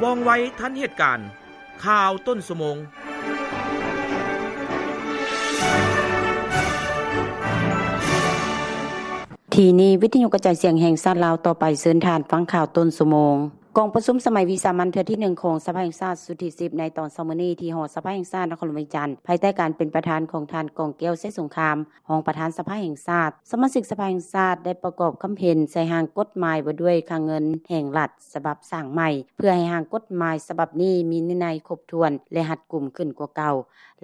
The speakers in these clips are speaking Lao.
ວ່ອງໄວທັນເຫດການ. ຂ່າວຕົ້ນຊົ່ວໂມງ. ທີ່ນີ້ ວິທະຍຸກະຈາຍສຽງແຫ່ງຊາດລາວ. ຕໍ່ໄປເຊີນທ່ານຟັງຂ່າວຕົ້ນຊົ່ວໂມງ. ກອງປະຊຸມສະໄໝວິສາມັນເທື່ອທີໜຶ່ງຂອງສະພາແຫ່ງຊາດຊຸດທີສິບ ໃນຕອນເຊົ້າມື້ນີ້ ທີ່ຫໍສະພາແຫ່ງຊາດນະຄອນຫຼວງວຽງຈັນ ພາຍໃຕ້ການເປັນປະທານຂອງທ່ານ ກອງແກ້ວ ໄຊສົງຄາມ ຮອງປະທານສະພາແຫ່ງຊາດ. ສະມາຊິກສະພາແຫ່ງຊາດໄດ້ປະກອບຄຳເຫັນໃສ່ຮ່າງກົດໝາຍວ່າດ້ວຍຄ່າເງິນແຫ່ງລັດ ສະບັບສ້າງໃໝ່ ເພື່ອໃຫ້ຮ່າງກົດໝາຍສະບັບນີ້ມີວິໄນຄົບຖ້ວນ ແລະ ຮັດກຸມຂຶ້ນກວ່າເກົ່າ.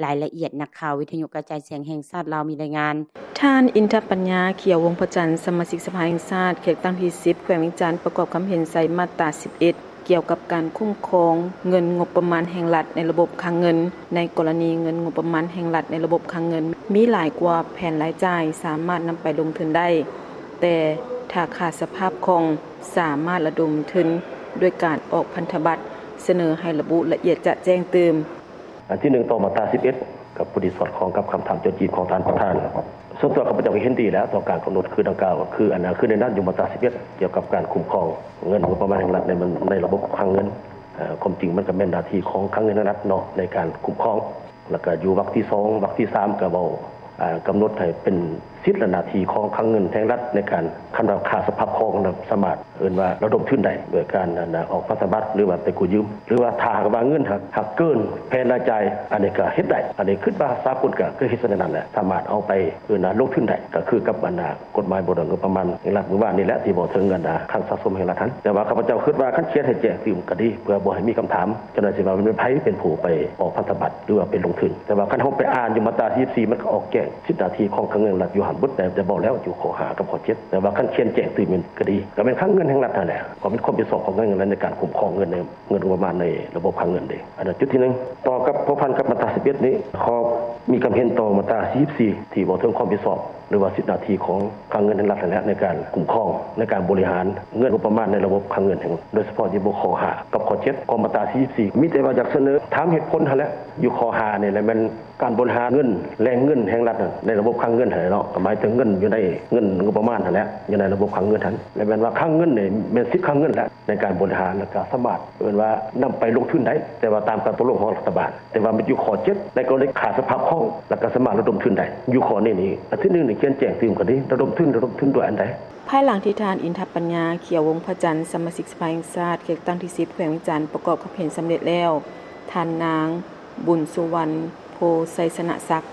ລາຍລະອຽດ ນັກຂ່າວວິທະຍຸກະຈາຍສຽງແຫ່ງຊາດລາວມີລາຍງານ. ທ່ານ ອິນທະປັນຍາ ຂຽວວົງພະຈັນ ສະມາຊິກສະພາແຫ່ງຊາດ ເຂດຕັ້ງທີສິບ ແຂວງວຽງຈັນ ປະກອບຄຳເຫັນໃສ່ມາດຕາສິບເອັດ ກ່ຽວກັບການຄຸ້ມຄອງເງິນງົບປະມານແຫ່ງລັດໃນລະບົບຄັງເງິນ. ໃນກໍລະນີເງິນງົບປະມານແຫ່ງລັດໃນລະບົບຄັງເງິນມີຫຼາຍກວ່າແຜນລາຍຈ່າຍສາມາດນຳໄປລົງທຶນໄດ້, ແຕ່ຖ້າຂາດສະພາບຄ່ອງ ສາມາດລະດົມທຶນດ້ວຍການອອກພັນທະບັດ, ສະເໜີໃຫ້ລະບຸລະອຽດຈະແຈ້ງຕື່ມ. ອັນທີໜຶ່ງ ຕໍ່ມາດຕາສິບເອັດ ກໍພໍດີສອດຄ່ອງກັບຄຳຖາມໂຈະຈີບຂອງທ່ານປະທານ. ສ່ວນຕົວຂ້າພະເຈົ້າກໍເຫັນດີແລ້ວຕໍ່ການກຳນົດຄືດັ່ງກ່າວ ຄືອັນ ຄືໃນນັ້ນຢູ່ມາດຕາສິບເອັດ ກ່ຽວກັບການຄຸ້ມຄອງເງິນງົບປະມານແຫ່ງລັດໃນ ໃນລະບົບຄັງເງິນ. ເອີ ຄວາມຈິງມັນກໍແມ່ນໜ້າທີ່ຂອງຄັງເງິນແຫ່ງລັດເນາະ ໃນການຄຸ້ມຄອງ. ແລ້ວກໍຢູ່ວັກທີສອງ ວັກທີສາມ ກໍເວົ້າ ອາ ກຳນົດໃຫ້ເປັນສິດ ແລະ ໜ້າທີ່ຂອງຄັງເງິນແຫ່ງລັດໃນການ ຄັນວ່າຂາດສະພາບຄ່ອງ ສາມາດເອີ້ນວ່າລະດົມທຶນໄດ້ ໂດຍການ ອັນ ອອກພັນທະບັດ ຫຼືວ່າໄປກູ້ຢືມ ຫຼືວ່າຖ້າຫາກວ່າເງິນຫາກ ຫາກເກີນແຜນລາຍຈ່າຍ ອັນນີ້ກໍເຮັດໄດ້. ອັນນີ້ຄິດວ່າສາກົນກໍເຄີຍເຮັດສະນັ້ນແຫຼະ ສາມາດເອົາໄປ ເອີ້ນວ່າລົງທຶນໄດ້ ກໍຄືກັບ ອັນ ນະ ກົດໝາຍບໍ່ດອງງົບປະມານແຫ່ງລັດມື້ວານນີ້ແຫຼະ ທີ່ເວົ້າເຖິງ ອັນ ນະ ຄັງສະສົມແຫ່ງລັດຫັ້ນ. ແຕ່ວ່າຂ້າພະເຈົ້າຄິດວ່າ ຄັນຂຽນໃຫ້ແຈ້ງຕື່ມກໍດີ ເພື່ອບໍ່ໃຫ້ມີຄຳຖາມ ເຈົ້າໜ້າທີ່ວ່າແມ່ນໃຜເປັນຜູ້ໄປອອກພັນທະບັດ ຫຼືວ່າໄປລົງທຶນ. ແຕ່ວ່າຄັນເຮົາໄປອ່ານຢູ່ມາດຕາສີ່ສິບສີ່ ມັນກໍອອກແຈ້ງສິດໜ້າທີ່ຂອງຄັງເງິນແຫ່ງລັດຢູ່ຫັ້ນເບິດ ແຕ່ ແຕ່ເວົ້າແລ້ວຢູ່ຂໍ້ຫ້າກັບຂໍ້ເຈັດ. ແຕ່ວ່າຄັນຂຽນແຈ້ງຕື່ມແມ່ນກໍດີ ກໍແມ່ນຄັງເງິນແຫ່ງລັດຫັ້ນແຫຼະ ກໍເປັນຄວາມຜິດຊອບຂອງຄັງເງິນແຫ່ງລັດໃນການຄຸ້ມຄອງເງິນ ເງິນງົບປະມານໃນລະບົບຄັງເງິນເດ້. ອັນນັ້ນຈຸດທີໜຶ່ງ. ຕໍ່ກັບພົວພັນກັບມາດຕາສິບເອັດນີ້ ຂໍມີຄຳເຫັນຕໍ່ມາດຕາສີ່ສິບສີ່ ທີ່ເວົ້າເຖິງຄວາມຜິດຊອບ ຫຼືວ່າສິດໜ້າທີ່ຂອງຄັງເງິນແຫ່ງລັດຫັ້ນແຫຼະ ໃນການຄຸ້ມຄອງ ໃນການບໍລິຫານເງິນງົບປະມານໃນລະບົບຄັງເງິນແຫ່ງ ໂດຍສະເພາະຢູ່ບົດຂໍ້ຫ້າກັບຂໍ້ເຈັດຂອງມາດຕາສີ່ສິບສີ່. ມີແຕ່ວ່າຢາກສະເໜີຖາມເຫດຜົນຫັ້ນແຫຼະ ຢູ່ຂໍ້ຫ້ານີ້ແຫຼະ ແມ່ນການບໍລິຫານເງິນ ແຫຼ່ງເງິນແຫ່ງລັດໃນລະບົບຄັງເງິນຫັ້ນແຫຼະເນາະ ກໍໝາຍເຖິງເງິນຢູ່ໃນ ເງິນງົບປະມານຫັ້ນແຫຼະ ຢູ່ໃນລະບົບຄັງເງິນຫັ້ນ ແລະ ແມ່ນວ່າຄັງເງິນນີ້ແມ່ນສິດຄັງເງິນແຫຼະ ໃນການບໍລິຫານ ແລ້ວກໍສາມາດ ເອີ້ນວ່ານຳໄປລົງທຶນໄດ້ ແຕ່ວ່າຕາມການຕົກລົງຂອງລັດຖະບານ. ແຕ່ວ່າມັນຢູ່ຂໍ້ເຈັດ ໃນກໍລະນີຂາດສະພາບຄ່ອງ ແລ້ວກໍສາມາດລະດົມທຶນໄດ້. ຢູ່ຂໍ້ນີ້ນີ້ ອັນທີໜຶ່ງນີ້ຂຽນແຈ້ງຕື່ມກໍດີ ລະດົມທຶນ ລະດົມທຶນດ້ວຍອັນໃດ? ພາຍຫຼັງທີ່ທ່ານ ອິນທະປັນຍາ ຂຽວວົງພະຈັນ ສະມາຊິກສະພາແຫ່ງຊາດ ເຂດຕັ້ງທີສິບ ແຂວງວຽງຈັນ ປະກອບຄຳເຫັນສຳເລັດແລ້ວ, ທ່ານນາງ ບຸນສຸວັນ ໂພໄຊຊະນະສັກ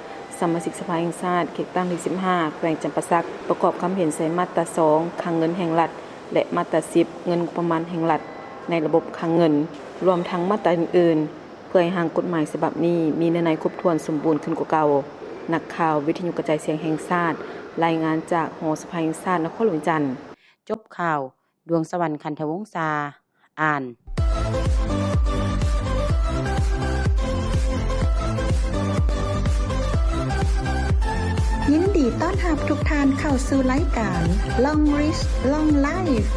ສະມາຊິກສະພາແຫ່ງຊາດ ເຂດຕັ້ງທີສິບຫ້າ ແຂວງຈຳປາສັກ ປະກອບຄຳເຫັນໃສ່ມາດຕາສອງ ຄັງເງິນແຫ່ງລັດ ແລະ ມາດຕາສິບ ເງິນງົບປະມານແຫ່ງລັດໃນລະບົບຄັງເງິນ ລວມທັງມາດຕາອື່ນໆ ເພື່ອໃຫ້ຮ່າງກົດໝາຍສະບັບນີ້ມີເນື້ອໃນຄົບຖ້ວນສົມບູນຂຶ້ນກວ່າເກົ່າ. ນັກຂ່າວວິທະຍຸກະຈາຍສຽງແຫ່ງຊາດ ລາຍງານຈາກຫໍສະພາແຫ່ງຊາດ ນະຄອນຫຼວງວຽງຈັນ. ຈົບຂ່າວ. ດວງສະຫວັນ ຄັນທະວົງສາ ອ່ານ. ຍິນດີຕ້ອນຮັບທຸກທ່ານເຂົ້າສູ່ລາຍການ Long Reach Long Life.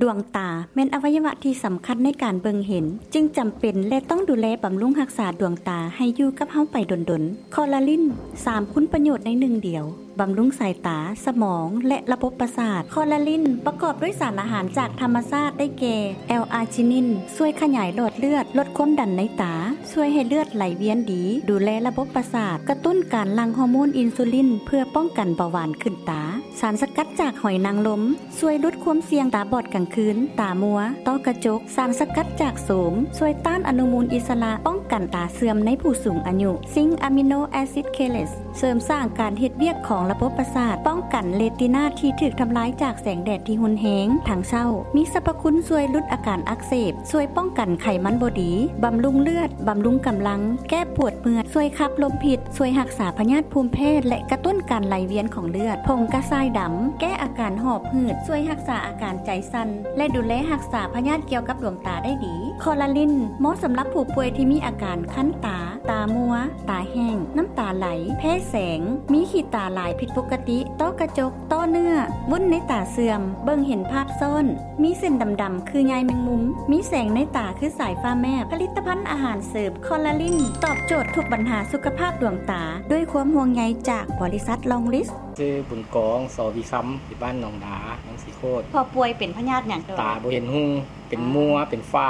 ດວງຕາແມ່ນອະໄວຍະວະທີ່ສຳຄັນໃນການເບິ່ງເຫັນ, ຈຶ່ງຈຳເປັນ ແລະ ຕ້ອງດູແລບຳລຸງຮັກສາດວງຕາໃຫ້ຢູ່ກັບເຮົາໄປດົນໆ. ຄໍລາລິນ ສາມຄຸນປະໂຫຍດໃນໜຶ່ງດຽວ. ບຳລຸງສາຍຕາ, ສະໝອງ ແລະ ລະບົບປະສາດ. ຄໍລາລິນປະກອບດ້ວຍສານອາຫານຈາກທຳມະຊາດ ໄດ້ແກ່ ແອລອາຈິນິນ ຊ່ວຍຂະຫຍາຍຫຼອດເລືອດ, ລົດຄວາມດັນໃນຕາ, ຊ່ວຍໃຫ້ເລືອດໄຫຼວຽນດີ, ດູແລລະບົບປະສາດ, ກະຕຸ້ນການຫຼັ່ງຮໍໂມນອິນຊູລິນ ເພື່ອປ້ອງກັນເບົາຫວານຂຶ້ນຕາ. ສານສະກັດຈາກຫອຍນາງລົມ ຊ່ວຍຫຼຸດຄວາມສ່ຽງຕາບອດກາງຄືນ, ຕາມົວ, ຕ້ອກະຈົກ. ສານສະກັດຈາກໂສມ ຊ່ວຍຕ້ານອະນຸມູນອິດສະຫຼະ, ປ້ອງກັນຕາເສື່ອມໃນຜູ້ສູງອາຍຸ. ຊິງອາມິໂນແອຊິດເຄເລດ ເສີມສ້າງການເຮັດວຽກຂອງລະບົບປະສາດ, ປ້ອງກັນເຣຕີນາທີ່ຖືກທຳລາຍຈາກແສງແດດທີ່ຮຸນແຮງທັງເຊົ້າ. ມີສັບພະຄຸນຊ່ວຍຫຼຸດອາການອັກເສບ, ຊ່ວຍປ້ອງກັນໄຂມັນບໍ່ດີ, ບຳລຸງເລືອດ, ບຳລຸງກຳລັງ, ແກ້ປວດເມື່ອຍ, ຊ່ວຍຂັບລົມພິດ, ຊ່ວຍຮັກສາພະຍາດພູມແພ້ ແລະ ກະຕຸ້ນການໄຫຼວຽນຂອງເລືອດ. ຜົງກະຊາຍດຳ ແກ້ອາການຫອບຫືດ, ຊ່ວຍຮັກສາອາການໃຈສັ່ນ ແລະ ດູແລຮັກສາພະຍາດກ່ຽວກັບດວງຕາໄດ້ດີ. ຄໍລາລິນ ເໝາະສຳລັບຜູ້ປ່ວຍທີ່ມີອາການຄັນຕາ, ຕາມົວ, ຕາແຫ້ງ, ນ້ຳຕາໄຫຼ, ແພ້ແສງ, ມີຂີ້ຕາຫຼາຍ ຜິດປົກກະຕິ ຕ້ອກະຈົກ, ຕໍ່ເນື້ອ, ວຸ້ນໃນຕາເສື່ອມ, ເບິ່ງເຫັນພາບຊ້ອນ, ມີເສັ້ນດຳໆ ຄືໃຍແມງມຸມ, ມີແສງໃນຕາຄືສາຍຟ້າແມບ. ຜະລິດຕະພັນອາຫານເສີມຄໍລາລິນ ຕອບໂຈດທຸກບັນຫາສຸຂະພາບດວງຕາ ດ້ວຍຄວາມຫ່ວງໃຍຈາກບໍລິສັດລອງລິສ. ຊື່ບຸນກອງ ສໍວິຄຳ ຢູ່ບ້ານໜອງດາ ເມືອງສີໂຄດ. ພໍ່ປ່ວຍເປັນພະຍາດຫຍັງ? ຕາບໍ່ເຫັນຮຸ່ງ ເປັນມົວ ເປັນຝ້າ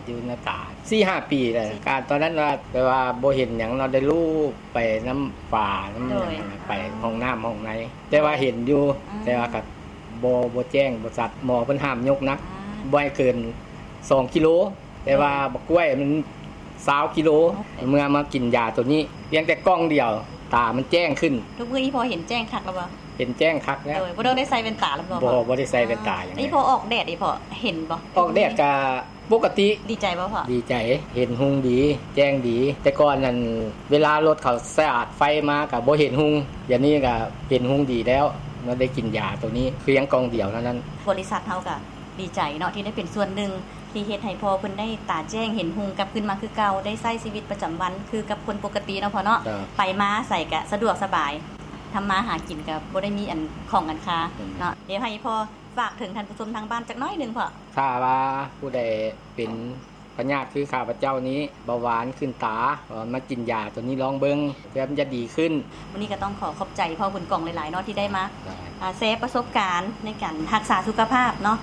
ຢູ່ໃນຕາ ສີ່ຫ້າປີແລ້ວ. ການຕອນນັ້ນວ່າ ແຕ່ວ່າບໍ່ເຫັນຫຍັງເນາະ ໄດ້ລູບໄປນຳຝ້ານຳຫຍັງ ໄປຫ້ອງນ້ຳຫ້ອງໃນ ແຕ່ວ່າເຫັນຢູ່ ແຕ່ວ່າກໍບໍ່ ບໍ່ແຈ້ງບໍ່ຊັດ. ໝໍເພິ່ນຫ້າມຍົກໜັກ ບໍ່ໃຫ້ເກີນສອງກິໂລ ແຕ່ວ່າບັກກ້ວຍມັນຊາວກິໂລ. ເມື່ອມາກິນຢາໂຕນີ້ ພຽງແຕ່ກ່ອງດຽວ ຕາມັນແຈ້ງຂຶ້ນ. ທຸກມື້ນີ້ພໍ່ເຫັນແຈ້ງຄັກແລ້ວບໍ່? ເຫັນແຈ້ງຄັກແລ້ວ. ໂດຍ ບໍ່ຕ້ອງໄດ້ໃສ່ແວ່ນຕາແລ້ວບໍ່? ບໍ່ ບໍ່ໄດ້ໃສ່ແວ່ນຕາຫຍັງ. ນີ້ພໍ່ອອກແດດນີ້ພໍ່ເຫັນບໍ່? ອອກແດດກະປົກກະຕິ. ດີໃຈບໍ່ພໍ່? ດີໃຈ ເຫັນຮຸ່ງດີ ແຈ້ງດີ. ແຕ່ກ່ອນນັ້ນ ເວລາລົດເຂົາສາດໄຟມາກະບໍ່ເຫັນຮຸ່ງ ດຽວນີ້ກະເຫັນຮຸ່ງດີແລ້ວ ເມື່ອໄດ້ກິນຢາໂຕນີ້ ພຽງກ່ອງດຽວເທົ່ານັ້ນ. ບໍລິສັດເຮົາກະດີໃຈເນາະ ທີ່ໄດ້ເປັນສ່ວນໜຶ່ງ ທີ່ເຮັດໃຫ້ພໍ່ເພິ່ນໄດ້ຕາແຈ້ງເຫັນຮຸ່ງກັບຄືນມາຄືເກົ່າ ໄດ້ໃຊ້ຊີວິດປະຈຳວັນຄືກັບຄົນປົກກະຕິເນາະພໍ່ເນາະ. ໄປມາໃສກະສະດວກສະບາຍ ທຳມາຫາກິນກະບໍ່ໄດ້ມີອັນຂ້ອງອັນຄາເນາະ. ດຽວໃຫ້ພໍ່ຝາກເຖິງທ່ານຜູ້ຊົມທາງບ້ານຈັກໜ້ອຍໜຶ່ງພໍ່. ຖ້າວ່າຜູ້ໃດເປັນພະຍາດຄືຂ້າພະເຈົ້ານີ້ ເບົາຫວານຂຶ້ນຕາ ກໍມາກິນຢາໂຕນີ້ລອງເບິ່ງ ເພື່ອມັນຈະດີຂຶ້ນ. ມື້ນີ້ກໍຕ້ອງຂໍຂອບໃຈພໍ່ບຸນກອງຫຼາຍໆເນາະ ທີ່ໄດ້ມາ ອ່າ ແຊປະສົບການໃນການຮັກສາສຸຂະພາບເນາະ.